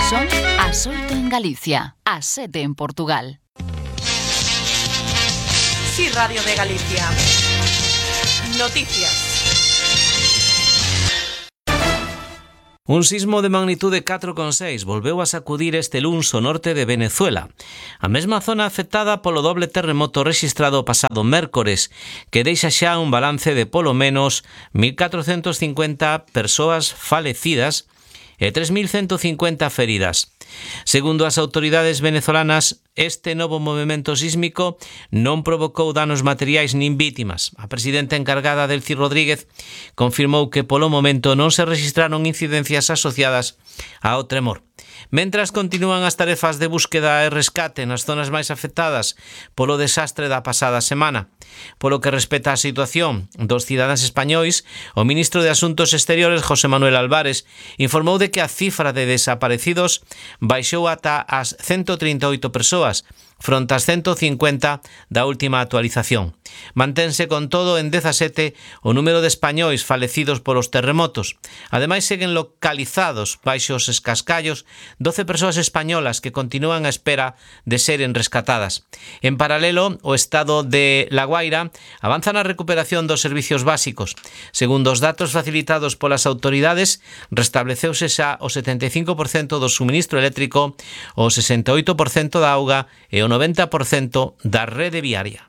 Son as 8 en Galicia, as 7 en Portugal. Sí, Radio de Galicia. Noticias. Un sismo de magnitude 4,6 volveu a sacudir este luns o norte de Venezuela. A mesma zona afectada polo doble terremoto rexistrado o pasado mércores, que deixa xa un balance de polo menos 1.450 persoas falecidas e 3.150 feridas. Segundo as autoridades venezolanas, este novo movimento sísmico non provocou danos materiais nin vítimas. A presidenta encargada, Delcy Rodríguez, confirmou que polo momento non se registraron incidencias asociadas ao tremor. Mentras continúan as tarefas de búsqueda e rescate nas zonas máis afectadas polo desastre da pasada semana. Polo que respecta á situación dos cidadáns españois, o ministro de Asuntos Exteriores, José Manuel Álvarez, informou de que a cifra de desaparecidos baixou ata as 138 persoas, fronte ás 150 da última actualización. Mantense con todo en 17 o número de españois falecidos polos terremotos. Ademais, seguen localizados baixo os escascallos 12 persoas españolas que continúan á espera de seren rescatadas. En paralelo, o estado de La Guaira avanza na recuperación dos servicios básicos. Segundo os datos facilitados polas autoridades, restableceuse xa o 75% do suministro eléctrico, o 68% da auga e o 90% da rede viaria.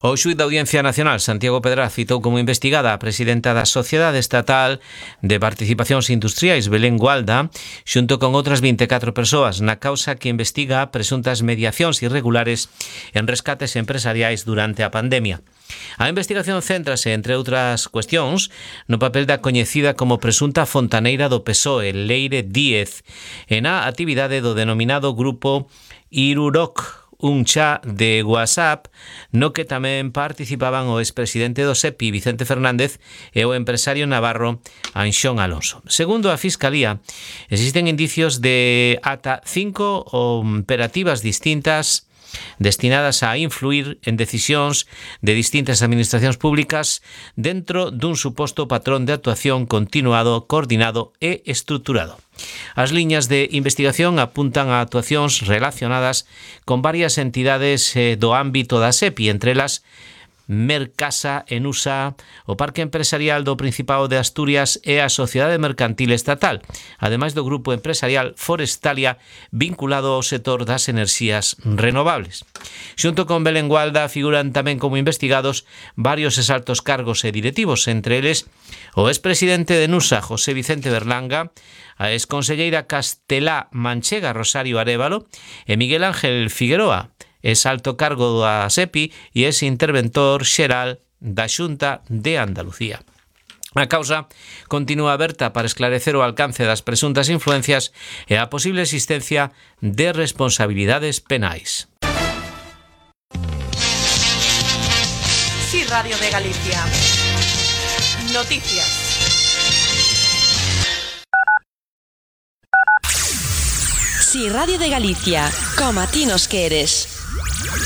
O xuíz da Audiencia Nacional, Santiago Pedraz, citou como investigada a presidenta da Sociedade Estatal de Participacións Industriais, Belén Gualda, xunto con outras 24 persoas na causa que investiga presuntas mediacións irregulares en rescates empresariais durante a pandemia. A investigación céntrase, entre outras cuestións, no papel da coñecida como presunta fontaneira do PSOE, Leire Díez, e na actividade do denominado grupo Iruroc, un chat de WhatsApp no que tamén participaban o expresidente do SEPI, Vicente Fernández, e o empresario navarro Anxón Alonso. Segundo a Fiscalía, existen indicios de ata 5 operativas distintas destinadas a influir en decisións de distintas administracións públicas dentro dun suposto patrón de actuación continuado, coordinado e estruturado. As liñas de investigación apuntan a actuacións relacionadas con varias entidades do ámbito da SEPI, entre elas Mercasa, Enusa, o Parque Empresarial do Principado de Asturias e a Sociedade Mercantil Estatal, ademais do grupo empresarial Forestalia vinculado ao sector das enerxías renovables. Xunto con Belén Gualda figuran tamén como investigados varios exaltos cargos e directivos, entre eles o expresidente de Enusa, José Vicente Berlanga, a exconselleira castelá manchega Rosario Arévalo e Miguel Ángel Figueroa, es alto cargo da SEPI e es interventor xeral da Xunta de Andalucía. A causa continúa aberta para esclarecer o alcance das presuntas influencias e a posible existencia de responsabilidades penais. Sí, Radio de Galicia. Noticias. Sí, Radio de Galicia, como a ti nos queres.